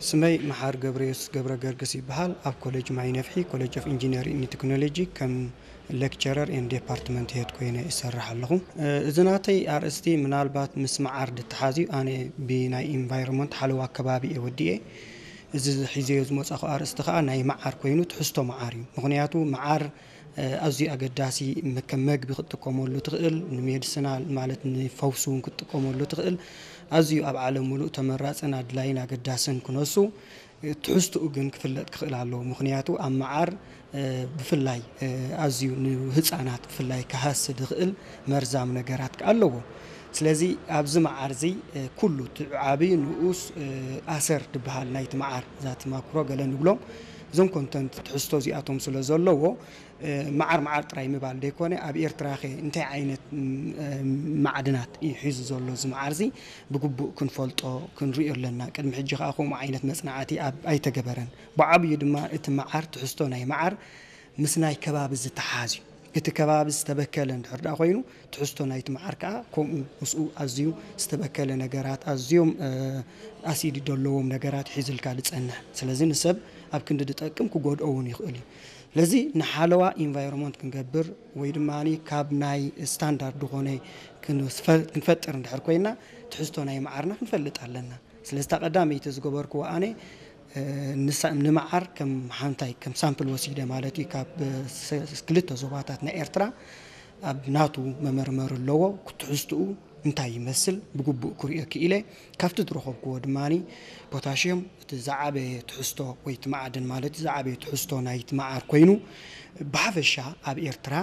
ስመይ መሓር ገብረዮስ ገብረ ገርግስ ይበሃል። ኣብ ኮሌጅ ማይ ነፍሒ፣ ኮሌጅ ኦፍ ኢንጂነሪንግ ቴክኖሎጂ፣ ከም ሌክቸረር ኤን ዴፓርትመንት ሄድ ኮይነ ይሰርሕ ኣለኹ። እዚ ናተይ ኣርእስቲ ምናልባት ምስ መዓር ድተሓዝዩ፣ ኣነ ብናይ ኢንቫይሮንመንት ሓለዋ ከባቢ እየ ወዲኤ። እዚ ሒዘዮ ዝመጻኹ ኣርእስቲ ከኣ ናይ መዓር ኮይኑ፣ ትሕዝቶ መዓር እዩ። ምኽንያቱ መዓር ኣዝዩ ኣገዳሲ፣ ከም መግቢ ክትጥቀመሉ ትኽእል፣ ንሜድስናል ማለት ንፈውሲ እውን ክትጥቀመሉ ትኽእል። ኣዝዩ ኣብ ዓለም ሙሉእ ተመራጽን ኣድላይን ኣገዳስን ክነሱ፣ ትሕዝትኡ ግን ክፍለጥ ክኽእል ኣለዎ። ምኽንያቱ ኣብ መዓር ብፍላይ ኣዝዩ ንህፃናት ብፍላይ ክሃሲ ዝኽእል መርዛም ነገራት ከኣ ኣለዎ። ስለዚ ኣብዚ መዓር እዚ ኩሉ እቲ ዓብዪ ንኡስ ኣሰር ዝበሃል ናይቲ መዓር፣ እዛ እቲ ማክሮ ገለ ንብሎም፣ እዞም ኮንተንት ትሕዝቶ እዚኣቶም ስለ ዘለዎ፣ መዓር መዓር ጥራይ ምባል ዘይኮነ፣ ኣብ ኤርትራኸ እንታይ ዓይነት ማዕድናት እዩ ሒዙ ዘሎ እዚ መዓር እዚ ብግቡእ ክንፈልጦ ክንሪኦ ኣለና። ቅድሚ ሕጂ ከኣ ከምኡ ዓይነት መጽናዕቲ ኣብ ኣይተገበረን። ብዓብዩ ድማ እቲ መዓር፣ ትሕዝቶ ናይ መዓር ምስ ናይ ከባቢ ዝተሓዝ እዩ። እቲ ከባቢ ዝተበከለ እንድሕር ደኣ ኮይኑ፣ ትሕዝቶ ናይቲ መዓር ከኣ ከምኡ ምስኡ ኣዝዩ ዝተበከለ ነገራት፣ ኣዝዮም ኣሲድ ዘለዎም ነገራት ሒዝልካ ዝጸንሕ። ስለዚ ንሰብ ኣብ ክንዲ ዝጠቅም ክጎድኦ እውን ይኽእል እዩ። ስለዚ ንሓለዋ ኢንቫይሮንመንት ክንገብር ወይ ድማ ካብ ናይ ስታንዳርድ ዝኾነ ክንፈጥር እንድሕር ኮይና፣ ትሕዝቶ ናይ መዓርና ክንፈልጥ ኣለና። ስለዚ እታ ቀዳመይቲ ዝገበርክዎ ኣነ ንመዓር ከም ሓንታይ ከም ሳምፕል ወሲደ ማለት እዩ። ካብ ክልተ ዞባታት ናይ ኤርትራ ኣብ ናቱ መመርመሪ ኣለዎ። ትሕዝትኡ እንታይ ይመስል ብግቡእ ክሪኦ ክኢለ። ካብቲ ዝረኸብክዎ ድማ ፖታሽዮም እቲ ዝዓበየ ትሕዝቶ ወይ እቲ ማዕድን ማለት ዝዓበየ ትሕዝቶ ናይቲ መዓር ኮይኑ፣ ብሓፈሻ ኣብ ኤርትራ